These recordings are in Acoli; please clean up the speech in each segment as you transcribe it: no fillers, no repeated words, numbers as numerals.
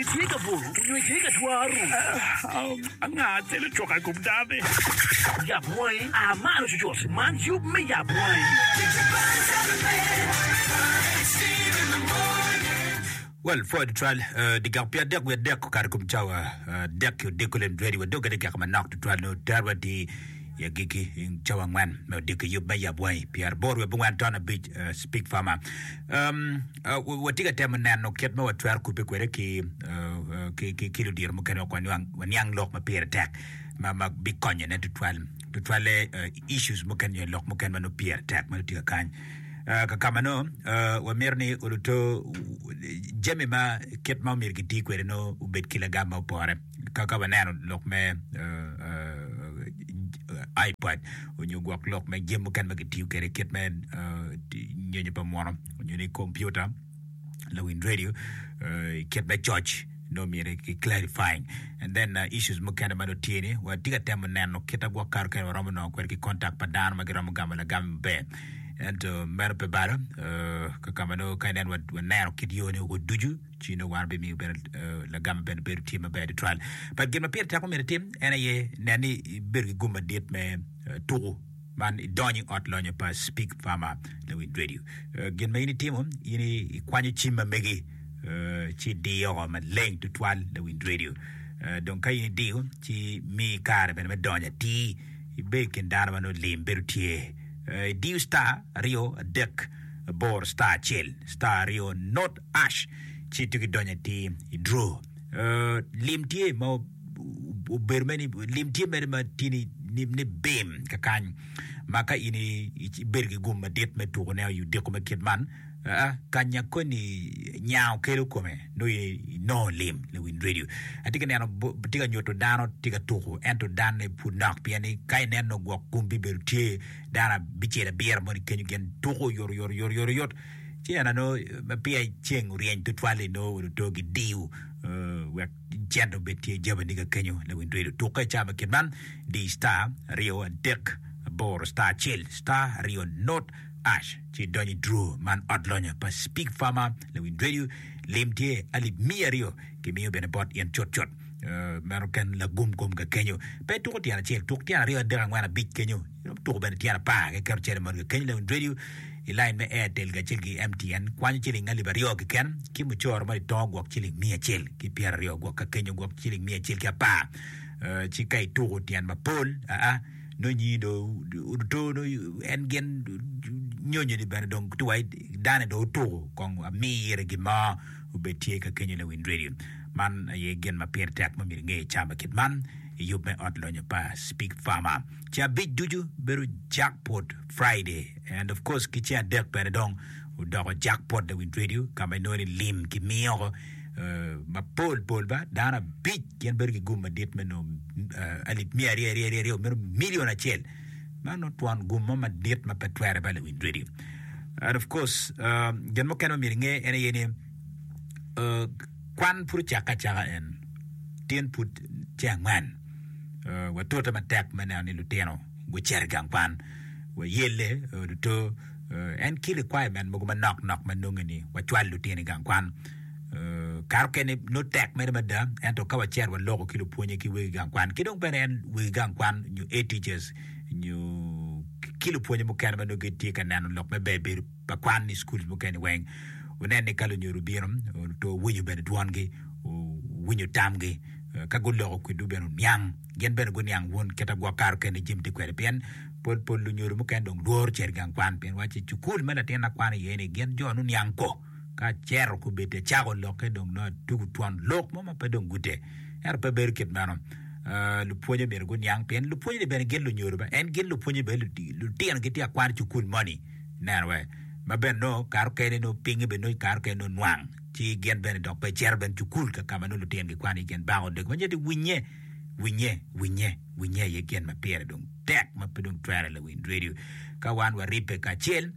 Itye ka buto onyo itye ka twaro? Anga acel ocoka i kom dano-ni? Yab wangi, a malo cucut. Man yub me yab wangi. Well, pwoyo tutwal. Uh, dyegak pyadek wiye adek okato i kom cawa adek ki odiko lem ready wadog gede keka manok tutwal nongo terwa tye i agikki i cawa angwen me odiko i yub me yab wangi pyeraboro wiye abongwen ton abic uh, speak farmer. Um, uh, watye ka temo neno kit ma watwero kubbe kwede ki, uh, uh, ki, ki, ki ludito mukene wek waniang, waniang lok ma pire tek ma, ma bikonyone tutwal tutwalle uh, issues mukene nyo lok mukene ma nongo pire tek ma nongo tye ka kany. Ka ka ma nongo wamito ni oluto jami ma kit ma omyero giti kwede nongo obed ki lagam ma opore. Ka ka waneno lok me iPad onyo gwok lok me jami mukene ma kitiyo kwede kit me nyonyo pa muno onyo ni kompiuta. lawiny radio i kit me coc nongo myero ki clarifying and then uh, issues mukene ma nongo tye ni watye ka temo neno kit agwok kare kene waromo nongo kwede ki contact pa dano ma giromo gamo lagam maber ento meno pe balo uh, kakama nongo ka inen waneno kit yo ni oko ducu ci nongo wan bimiyo bene uh, lagam bene bedo tye maber tutwal but gin ma pire tek ma myero itim en aye nen ni ibedo ki gum madit me uh, tuku Man idonyo i ot lonyo pa Speak Farmer Lawiny Radio. Gin ma in itimo, in ikwanyo cim ma megi ci idiyo oko maleng tutwal Lawiny Radio. Dong ka in idiyo ci miyi kare bene me donyo atir ibedo i kin dano ma nongo lim bedo tye. Idiyo star aryo adek aboro star acel star aryo not ash ci ituko idonyo atir i draw. Lim tye ma obedo mere ni lim tye mere ma tye ni ni bim kakany ma ka in ibedo ki gum madit me tuko ne i odiko me kit man aa kanya koni nyango kelo kome nongo inongo lim lawiny radio atye ka neno tye ka nyuto dano tye ka tuko ento danne pud nok pien ni ka ineno gwok gum bibedo tye dano abicel abiro moni kenyo gin tuko oyotoyot oyotoyot ci en nongo ma peya ceng oryeny tutwal-li nongo oto gidiyo wek cente obed tye jabani ka kenyo lawiny redio tukke i cawa me kit man di star aryo adek aboro star acel star aryo not ash ci idonyo i draw man ot lonyo pa speak farmer lawiny redio lim tye alip miya aryo kimiyo bene bot in cut cut meno ken lagum kom ka kenyo pe tuko tyen acel tuk tyen aryo adek angwen abic kenyo Tuko bene tyen apar keken ocele mot keken Lewin Radio i lain me Airtel kacel ki MTN kwanyo ciling alip aryo keken ki mucoro ma litongo gwok ciling miya acel ki pyeraryo gwok ka kenyo gwok ciling miya acel ki apar ci ka ituko tyen mapol aa nongo nyingi dong oto nongo en gin nyonyo ni bene dong tye wa dane dong otuko kong ami ire gin mo obed tye ka kenyo Lewin Radio man aye gin ma pire tek ma myero inge i cama kit man i yub me ot lonyo pa Speak Farmer. Ceng abic ducu bedo jackpot Friday and of course ki ceng adek bene dong odoko jackpot lawiny radio ka ma inongo ni lim ki miyo oko mapol pol ba dano abic gin bedo ki gum madit me nongo alip miya aryo aryo aryo meno million acel man nongo twon gum mo madit ma pe twere ba lawiny radio and of course gin mukene ma myero inge en aye ni kwan pud ocakke acaka en tin pud ceng angwen. Watute matek me neno ni lutino gucito i gang kwan, wayelle luto en ki requirement mogo manok nok ma nonge ni wacwal lutino i gang kwan. Kare okene nongo tek mere mada ento ka wacito waloko ki lupwonye ki wegi gang kwan ki dong bene en wegi gang kwan nyo head teachers nyo ki lupwonye mukene ma nongo gitye ka neno lok me ber bedo pa kwan i schools mukene weng wunen ni ka lunyodo obino to wuwinyo bene dwongi wuwinyo tamgi. Ka guloko kwedwu bene wuniang, gin bene guniang wun kit ma gwok kare okene jami tye kwede. Pien pol pol lunyodo mukene dong lworo cito i gang kwan pien wacci cukul ma latinna kwano iye-ni gin jo nuniang ko. Ka acito kobeddi acako lokke dong nongo atugo twon lok mo ma pe dong gute. Ento pe bedo kit meno. Lupwonye myero guniang pien lupwonye-ni bene gin lunyodo ba en gin lupwonye bene lutino gitye ka kwano i cukul moni ineno wee ma bene nongo kare okene nongo pinye bene nongo kare okene nongo nwang. ci gin bene dok pe cito bene cukul ka ka ma nongo lutino gikwano iye gin bako dog ma nyuto ni winye, winye, winye, winye aye gin ma pire dong tek ma pe dong twere lawiny radio. Ka wan waribbe kacel,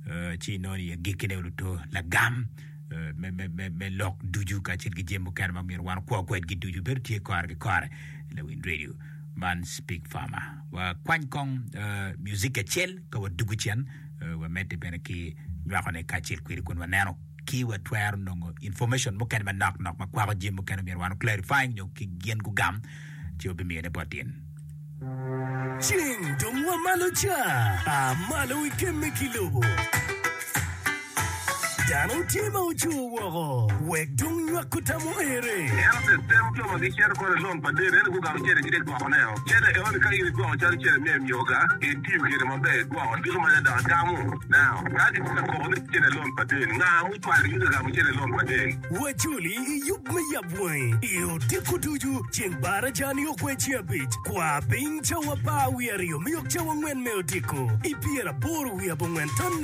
eh, ci inongo ni agikkine oluto lagam eh, me, me, me, me lok ducu kacel ki jami mukene ma myero wan okwo kwedgi ducu bedo tye kore ki kore lawiny radio. Man Speak Farmer. Wakwany kong eh, music acel ka wadugu cen, eh, wamedde bene ki nywakone kacel kwedi kun waneno. ki watwero nongo information mukene manok nok ma kwako jami mukene myero wan clarifying nyo ki gin gugam ci wabimiyone bot in. Ceng dong wa malo ca, a malo ikemme ki lobo. Dano tye ma ocur woko, wek dong nywako tam oere. En otetero jo ma gicito kore i lon pa deno, ento gugamo cente gitye ka dwokoneo. Cente enoni ka in idwoko calo cente me emyoga, itiyo kwede maber, idwoko diko ma dok igamo. Now, ka gitye ka koko ni cente lon pa deni, nga mucwalogi ka gamo cente lon pa deni? Wacoli i yub me yab wangi i odiko ducu, ceng baraja nio kwe ceng abic, kwa piny cawa apar wiye aryo miyok cawa angwen me odiko, i pyeraboro wiye abongwen ton.